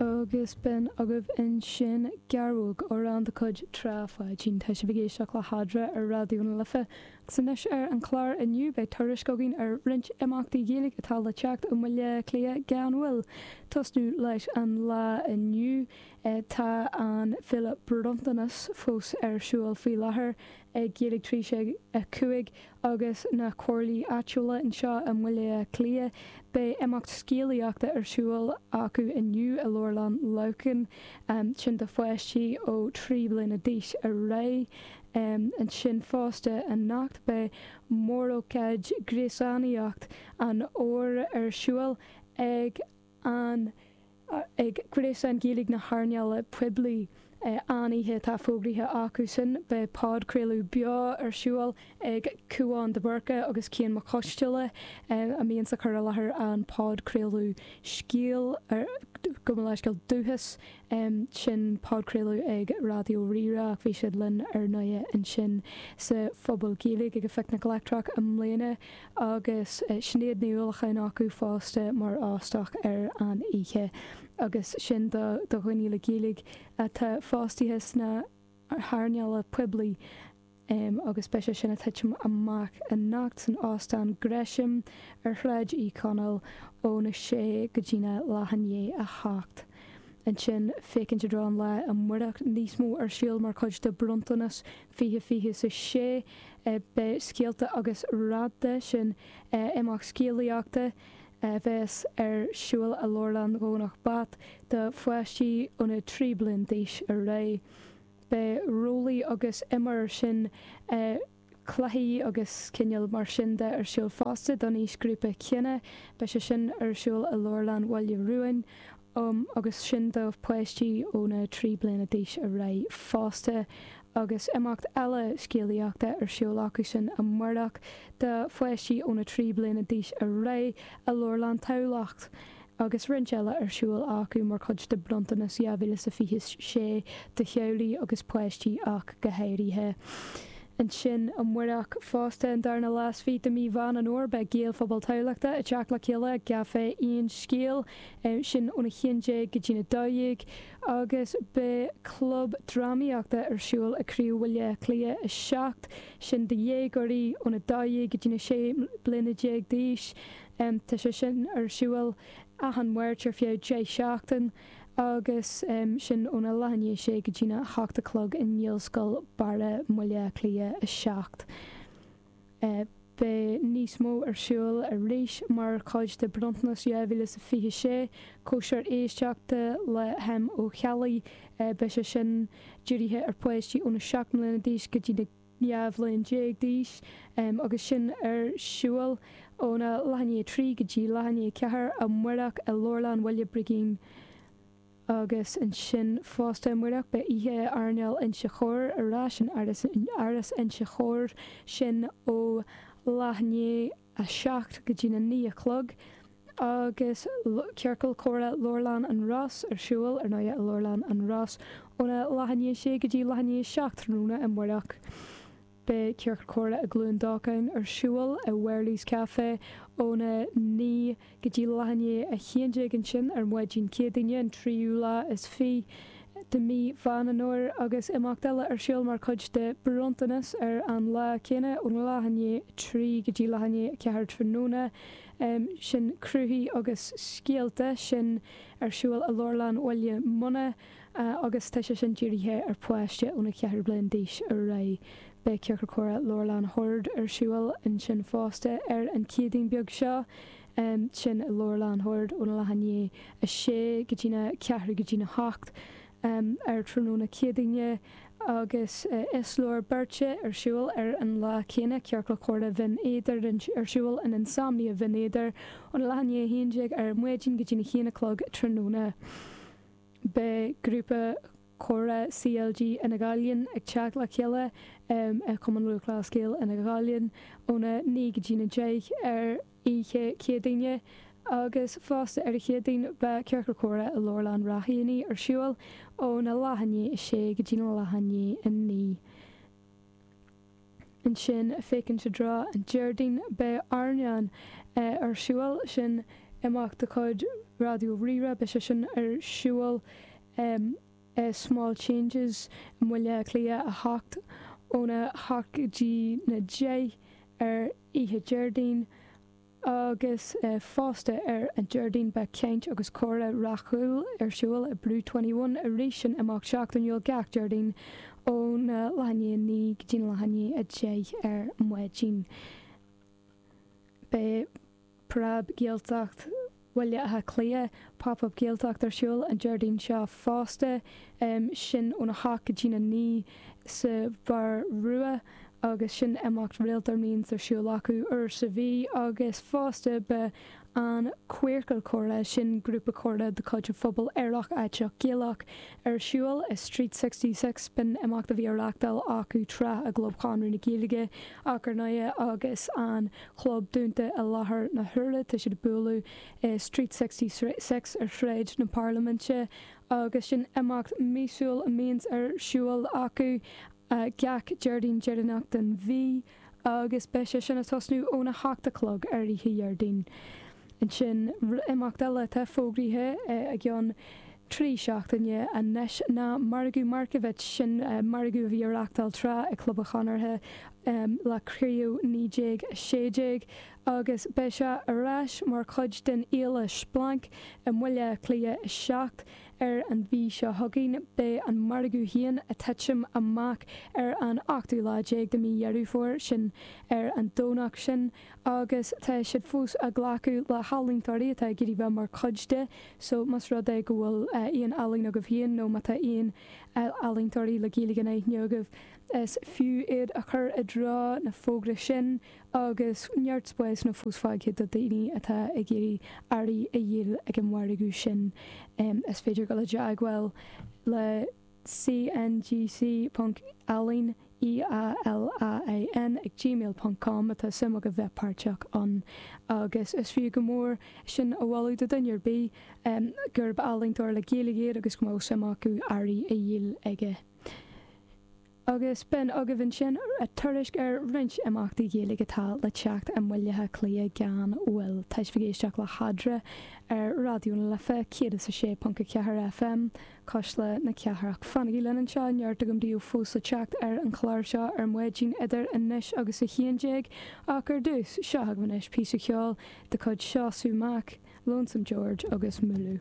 Agus b'in agaibh ansin Gearrthóg, amhrán de chuid Trá Pháidín. Tá sibh ag éisteacht le hEadra ar Raidió na Life. Agus anois ar an chlár inniu beidh tuairisc againn ar roinnt imeachtaí Gaeilge atá le teacht i mBaile Átha Cliath gan mhoill. Tosnú leis an lá inniu, tá an Féile Bronntanas fós ar siúl faoi láthair ag Gaeilge 365 agus na comhairlí áitiúla anseo i mBaile Átha Cliath. Beidh imeacht scéalaíochta ar siúl acu inniu i Leabharlann Lorcáin, sin do pháistí ó 3 bliana d'aois ar aghaidh. Ansin fosta anocht beidh mórócáid gréasánaíocht an Fhómhair ar siúl ag an ag Gréasán Gaeilge na hEarnála Poiblí. An oíche atá fógraithe acu sin, beidh podchraoladh beo ar siúl ag Cúán de Búrca agus Cian Mac Coisteala, a mbíonns ag cur i láthair an podchraoladh Scéal, gabh mo leithscéal, Dúchas. Sin podchraoladh ag Raidió Rí-Rá ach bhí siad linn ar ndóighe ansin sa Phuball Gaeilge ag an Phicnic Leictreach i mbliana. Agus Sinéad Ní Uallacháin acu fosta mar óstach ar an oíche. Agus sin do dhaoine le Gaeilge atá fostaithe sna hearnála poiblí. Agus beidh sé sin ag titim amach anocht san Óstán Gresham ar Shráid Uí Chonaill óna sé go dtína leath i ndiaidh a hocht. Ansin, féachaint i dtreo an lae amárach, níos mó ar siúl mar chuid de Bronntanas 2026. Beidh Scéalta agus Rannta, sin imeacht scéalaíochta a bheas ar siúl i Leabharlann Dhomhnach Bat do pháistí óna 3 bliain d'aois ar aghaidh. Beidh Rollaí agus Imir, sin cluichí agus cineál mar sin de ar siúl fosta don aoisghrúpa céanna. Beidh sé sin ar siúl i Leabharlann Bhaile Ruain agus sin do pháistí óna 3 bliana d'aois ar aghaidh fosta. Agus imeacht eile scéalaíochta ar siúl acu sin amárach do pháistí óna 3 bliana d'aois ar aghaidh i Leabharlann Tamhlacht. Agus roinnt eile ar siúl acu mar chuid de Bronntanas 2026 do theaghlaigh agus páistí ach go háirithe. Ansin amárach fosta, an darna lá is fiche de mhí Mheán an Fhómhair, beidh Gaelphobal Thamhlachta ag teacht le chéile i gCaifé Aon Scéal, sin óna 11 go dtína 12, agus beidh Club Drámaíochta ar siúl ag Craobh Bhaile Átha Cliath 7, sin do dhéagóirí óna 12 go dtína 16 bliana d'aois. Tá sé sin ar siúl achan Máirt ar feadh 10 seachtain agus sin óna leath i ndiaidh a sé go dtína hocht a chlog i nGaelscoil Barra, mBaile Átha Cliath 7. Beidh níos mó ar siúl arís mar chuid de Bronntanas 2026, Cóisir Éisteachta le hM Ó Ceallaigh. Beidh sé sin dírithe ar pháistí óna 7 mbliana d'aois go dtí na 12 bhliain d'aois agus sin ar siúl óna leath i ndiaidh a 3 go dtí leath i ndiaidh a 4 amárach i Leabharlann Bhaile Brigín agus ansin fosta amárach beidh oíche airneáil Inse Chór ar ais in Áras Inse Chór, sin ó leath i ndiaidh a 7 go dtína 9 a chlog agus Ciorcal Comhrá Leabharlann an Ros ar siúl, ar ndóigh, i Leabharlann an Ros óna leath i ndiaidh 6 go dtí leath i ndiaidh 7 tráthnóna amárach. Beidh Ciorcal Comhrá i gCluain Dolcáin ar siúl i Wherley's Café óna 9 go dtí leath i ndiaidh 11 ansin ar maidin Céadaoine an tríú lá is fiche de mhí Mheán an Fhómhair agus imeacht eile ar siúl mar chuid de Bronntanas ar an lá céanna óna leath i ndiaidh 3 go dtí leath i ndiaidh 4 tráthnóna. Sin Cruthaigh agus Scéalta, sin ar siúl i Leabharlann Bhaile Munna agus tá sé sin dírithe ar pháiste óna 4 bliain d'aois ar aghaidh. Beidh Ciorcal Comhrá Leabharlann Shoird ar siúl ansin fosta ar an Chéadaoin beag seo. Sin i Leabharlann Shoird óna leath i ndiaidh 6 go dtína ceathrú go dtína hocht ar tráthnóna Céadaoine agus Iosleabhar Beirte ar siúl ar an lá céanna, Ciorcal Comhrá Bhinn Éadair ar siúl in Insomnia Bhinn Éadair óna leath i ndiaidh 11 ar maidin go dtína haon a chlog tráthnóna. Beidh grúpa comhrá CLG Fhine Ghallainn ag teacht le chéile i Cumann Lúthchleas Gael Fhine Ghallainn óna 9 go dtína 10 ar oíche Chéadaoine agus fosta ar an Chéadaoin beidh Ciorcal Comhrá i Leabharlann Ráth Éanaigh ar siúl óna leath i ndiaidh a sé go dtína leath i ndiaidh a 9. Ansin, féachaint i dtreo an Déardaoin, beidh Airneán ar siúl, sin. imeacht de chuid Raidió Rí-Rá, beidh sé sin ar siúl i Small Changes i mBaile Átha Cliath 8 óna 8 go dtí na 10 ar oíche Déardaoin agus fosta ar an Déardaoin beidh caint agus comhrá rathúil ar siúl i Brew 21 arís sin imeacht seachtainiúil gach Déardaoin óna leath i ndiaidh 9 go dtí leath i ndiaidh 10 ar maidin. Beidh Preab Gaeltacht Bhaile Átha Cliath, Pop Up Gaeltacht ar siúl an Déardaoin seo fosta, sin óna hocht go dtína naoi sa Bheár Rua agus sin imeacht rialta a mbíonns ar siúl acu uair sa mhí agus fosta beidh an Queercal Comhrá, sin grúpa comhrá de chuid an phobal aerach aiteach Gaelach, ar siúl i Street 66, b'in imeacht a bhí á reachtáil acu tráth i gClub Chonradh na Gaeilge ach ar ndóighe agus an Chlub dúnta i láthair na huaire. Tá siad ag bualadh i Street 66 ar Shráid na Parlaiminte agus sin imeacht míosúil a mbíonns ar siúl acu gach Déardaoin deireanach den mhí agus beidh sé sin ag tosnú óna hocht a chlog ar oíche Dhéardaoin. Ansin, imeacht eile atá fógraithe i gceann 3 seachtaine anois ná Margadh Markievicz, sin margadh a bhí á reachtáil tráth ag Club an Chonartha le Craobh 1916 agus beidh sé ar ais mar chuid den fhéile Splanc i mBaile Átha Cliath 7 ar an mhí seo chugainn. Beidh an margadh féin ag titim amach ar an ochtú lá déag de mhí Dheireadh Fómhair, sin ar an Domhnach sin. agus tá siad fós ag glacadh le healaíontóirí atá ag iarraidh bheith mar chuid de so más rud é go bhfuil aon ealaín agaibh féin nó má tá aon ealaíontóirí le Gaeilge in aithne agaibh is fiú iad a chur i dtreo na fógra sin agus neart spásanna fós fágtha do daoine atá ag iarraidh earraí a dhíol ag an mhargadh sin. Is féidir dul i dteagmháil le cngc ponc ealaín, E-A-L-A-I-N, ag gmail ponc com má tá suim agaibh bheith páirteach ann agus is fiú go mór sin a mholadh do dhuine ar bith gurb ealaíontóir le Gaeilge iad agus go mbeadh suim acu earraí a dhíol aige. Agus b'in agaibh ansin tuairisc ar roinnt imeachtaí Gaeilge atá le teacht i mBaile Átha Cliath gan mhoill. Tá sibh ag éisteacht le hEadra ar Raidió na Life 106.4 FM. Cuisle na Cathrach. Fanaigí linn anseo, neart agam daoibh fós le teacht ar an chlár seo ar maidin idir anois agus 11, ach ar dtús, seo agaibh anois píosa ceoil de chuid Seosamh Mac, Lonesome George agus Mooloo.